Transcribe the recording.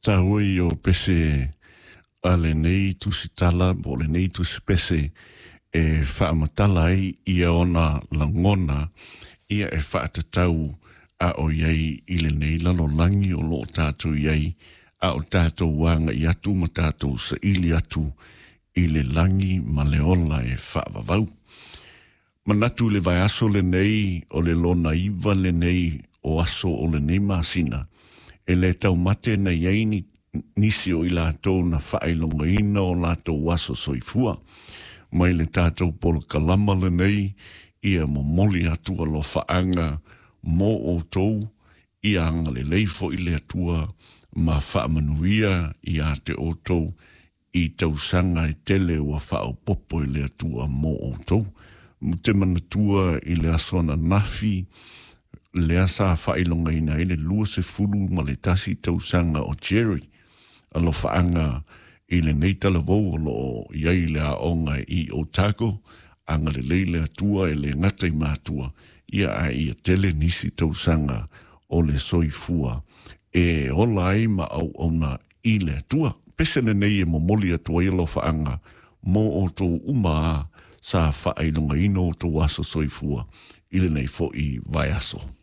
Taua ia o pese a lenei tusitala po o lenei tusipese e faamatala ai ia ona lagona ia e faatatau a o i ai i lenei lalolagi o lo o tatou i ai a o tatou agai atu ma tatou saili atu i le lagi ma le ola e faavavau. Manatu i le vaiaso lenei o le lona 9 lenei o aso o lenei masina, e le taumate na i ai ni nisi o i latou na faailogaina o latou aso soifua. Mai le tatou polokalama lenei, ia momoli atu alofaaga mo outou, ia agalelei foi le Atua ma faamanuia ia te outou i tausaga e tele ua faaopoopo e le Atua mo outou. Te manatua i le aso ananafi, lea sa faailogaina ai le 21 tausaga o Jerry, alofaaga i lenei talavou o loo i ai le aoga i Otago, agalelei le Atua e le gata i matua, ia ae ia tele nisi tausaga o le soifua e ola ai ma auauna i le Atua. Pese lenei e momoli atu ai alofaaga mo outou uma sa faailogaina outou aso soifua i lenei foi vaiaso.